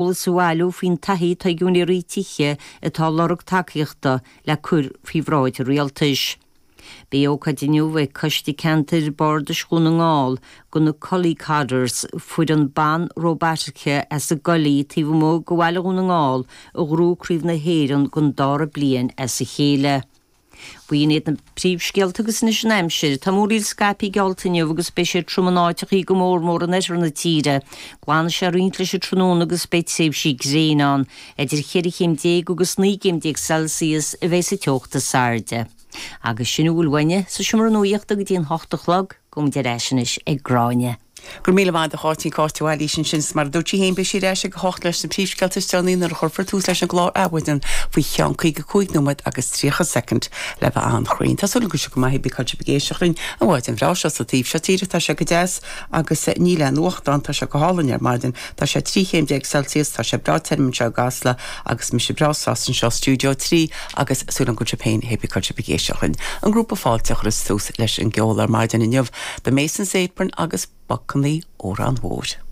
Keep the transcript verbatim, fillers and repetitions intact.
Eolas a bhailiú faoin taithí atá ag úinéirí tithe atá ag lorg tacaíochta le cur faoi bhráid an rialtais. Beidh ócáid inniu ag Coiste Ceantair Bardais Dhún na nGall do na Cully Codders, foireann ban róbataice as an gCoillí taobh amuigh de bhaile Dhún na nGall a ghnóthaigh Craobh na hÉireann don dara bliain as a chéile. B'in iad na príomhscéalta agus anois an aimsir. Tá múraíl scaipthe geallta inniu agus beidh sé trom in áiteachaí go mór mór in oirthear na tíre. Glanfaidh sé roinnt leis an tráthnóna agus beidh tréimhsí gréine ann. Idir cheithre chéim déag agus naoi gcéim déag Celsius a bheidh sa teocht is airde. Agus sin a bhfuil uainne sa seomra nuachta go dtí an hocht a chlog, gabhaimid ar ais anois ag Gráinne. Go raibh míle maith agat a Cháitín Cáit Bhailís ansin is mar a dúirt sí féin beidh sí ar ais ag a hocht leis na príomhscéalta is deireanaí nuair a chuirfear tús leis an gclár Adhmhaidin faoi cheann caoga cúig nóiméad agus tríocha soicind le bheith an-chruinn. Tá súil go go maith bí sibh ag éisteacht linn an mhaidin bhreá seo sa taobh seo tíre tá sé go deas agus níl aon fhuacht tá sé go hálainn ar maidin Tá sé trí chéim déag Celsius tá sé breá tirim anseo i gCasla agus mise breá sásta anseo stiúideo trí agus súil go sibh féin hé bí sibh ag éisteacht linn. An grúpa Fáilte a chuireas tús leis an gceol ar maidin inniu, The Mason's Apron agus Bacannaí Órán Mhóir.